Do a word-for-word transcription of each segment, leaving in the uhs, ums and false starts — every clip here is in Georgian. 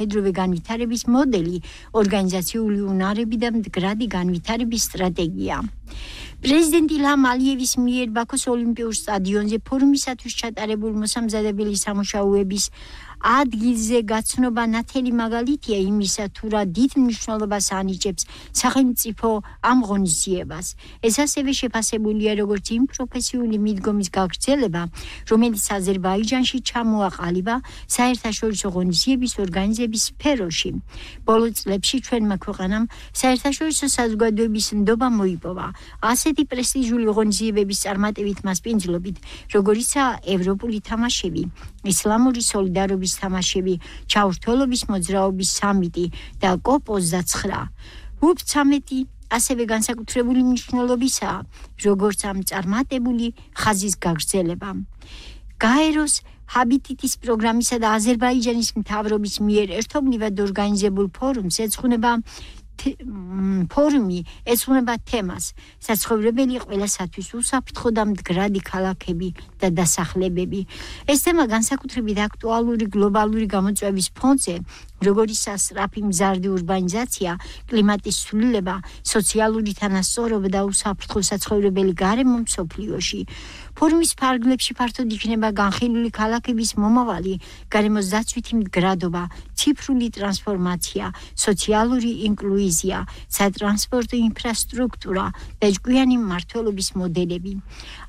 თანამედროვე განვითარების მოდელი, ორგანიზაციული უნარები და მდგრადი განვითარების სტრატეგია. პრეზიდენტ ილჰამ ალიევის მიერ ბაქოს ოლიმპიურ სტადიონზე ფორუმისათვის ჩატარებულ მოსამზადებელი სამუშაოების ადგილზე გაცნობა ნათელი მაგალითია იმისა, თუ რა დიდ მნიშვნელობას ანიჭებს სახელმწიფო ამ ღონისძიებას. ეს ასევე შეფასებულია როგორც იმ პროფესიული მიდგომის გაგრძელება, რომელიც აზერბაიჯანში ჩამოაყალიბა საერთაშორისო ღონისძიების ორგანიზების სფეროში. ბოლო წლებში ჩვენმა ქვეყანამ საერთაშორისო საზოგადოების ნდობა მოიპოვა ასეთი პრესტიჟული ღონისძიებების წარმატებით მასპინძლობით, როგორიცაა ევროპული თამაშები, ისლამური სოლიდარობის თამაშები, ჩაურთველობის მოძრაობის სამიტი და კოპ ოცდაცხრა. ვუპ ცამეტი ასევე განსაკუთრებული მნიშვნელობისაა, როგორც ამ წარმატებული ხაზის გაგრძელება. გაეროს ჰაბიტიტის პროგრამისა და აზერბაიჯანის მთავრობის მიერ ერთობლივად ორგანიზებულ ფორუმს ეძღვნება ფორუმი ეძღვნება თემას საცხოვრებელი ყველასათვის უსაფრთხო და მდგრადი ქალაქები და დასახლებები. ეს თემა განსაკუთრებით აქტუალური გლობალური გამოწვევის ფონზე, როგორიცაა სწრაფი მზარდი ურბანიზაცია, კლიმატის ცვლილება, სოციალური თანასწორობა და უსაფრთხო საცხოვრებელი გარემო მსოფლიოში. ფორუმის ფარგლებში ფართოდ იქნება განხილული ქალაქების მომავალი, გარემოს დაცვითი მდგრადობა, ციფრული ტრანსფორმაცია, სოციალური ინკლუზია, სატრანსპორტო ინფრასტრუქტურა და ჭკვიანი მმართველობის მოდელები.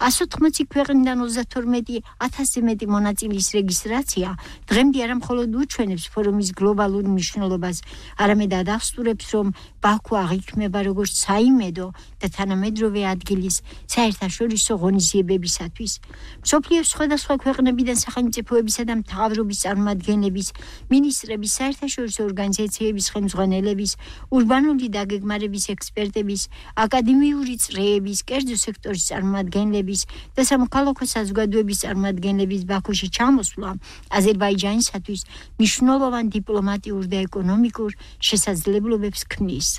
ასი ოთხმოცი ქვეყნიდან ოცდათორმეტი ათასზე მეტი მონაწილის რეგისტრაცია დღემდე არა მხოლოდ უჩვენებს ფორუმის გლობალურ მნიშვნელობას, არამედ ადასტურებს, რომ ბაქო აღიქმება როგორც საიმედო და თანამედროვე ადგილის საერთაშორისო ღონისძიებებისათვის. მსოფლიოს სხვადასხვა ქვეყნებიდან სახელმწიფოებისა და მთავრობის წარმომადგენლების, მინისტრების, საერთაშორისო ორგანიზაციების ხელმძღვანელების, ურბანული დაგეგმარების ექსპერტების, აკადემიური წრეების, კერძო სექტორის წარმომადგენლების და სამოქალაქო საზოგადოების წარმომადგენლების ბაქოში ჩამოსვლა აზერბაიჯანისათვის მნიშვნელოვან დიპლომატიურ და ეკონომიკურ შესაძლებლობებს ქმნის.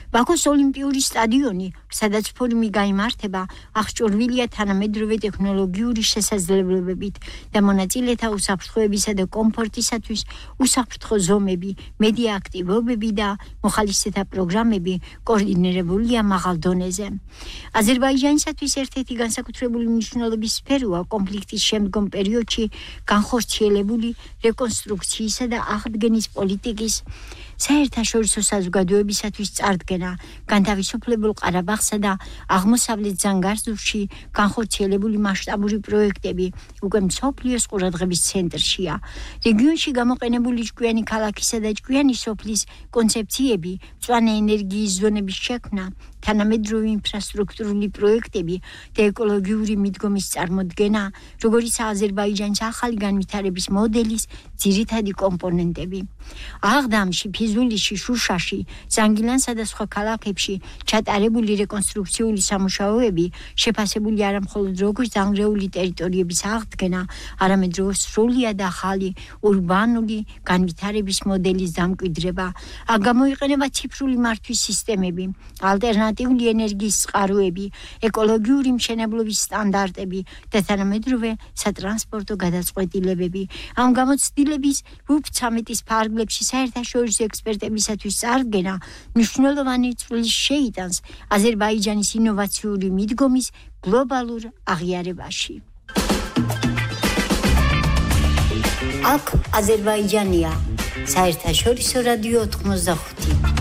ბაქოს ოლიმპიური სტადიონი, სადაც ფორუმი გაიმართება, აღჭურვილია თანამედროვე ტექნოლოგიური შესაძლებლობებით და მონაწილეთა უსაფრთხოებისა და კომფორტისათვის უსაფრთხო ზომები, მედია აქტივობები და მოხალისეთა პროგრამები კოორდინირებულია მაღალ დონეზე. აზერბაიჯანისათვის ერთ-ერთი განსაკუთრებული მნიშვნელობის სფეროა კონფლიქტის შემდგომ პერიოდში განხორციელებული რეკონსტრუქციისა და აღდგენის პოლიტიკის საერთაშორისო საზოგადოებისათვის წარდგენა, განთავისუფლებულ ყარაბაღსა და აღმოსავლეთ ზანგარზურში განხორციელებული მასშტაბური პროექტები უკვე მსოფლიოს ყურადღების ცენტრშია. რეგიონში გამოყენებული ჭკვიანი ქალაქისა და ჭკვიანი სოფლის კონცეფციები, მწვანე ენერგიის ზონების შექმნა, თანამედროვე ინფრასტრუქტურული პროექტები და ეკოლოგიური მიდგომის წარმოდგენა, როგორიც აზერბაიჯანის ახალი განვითარების მოდელის ძირითადი კომპონენტები. აღდამში, ფიზულიში, შუშაში, ზანგილანსა და სხვა ქალაქებში ჩატარებული რეკონსტრუქციული სამუშაოები შეფასებული არა მხოლოდ როგორც დანგრეული ტერიტორიების აღდგენა, არამედ როგორც სრულიად ახალი ურბანული განვითარების მოდელის დამკვიდრება. აქ გამოიყენება ციფრული მართვის სისტემები, ალტერნატიული ენერგიის წყაროები, ეკოლოგიური მშენებლობის სტანდარტები და თანამედროვე სატრანსპორტო გადაწყვეტილებები. ამ გამოცდილების ვუპ ცამეტის ფარგლებში საერთაშორისო ექსპერტებისათვის წარდგენა მნიშვნელოვანი წვლილს შეიტანს აზერბაიჯანის ინოვაციური მიდგომის გლობალურ აღიარებაში. აქ აზერბაიჯანია, საერთაშორისო რადიო ოთხმოცდახუთი.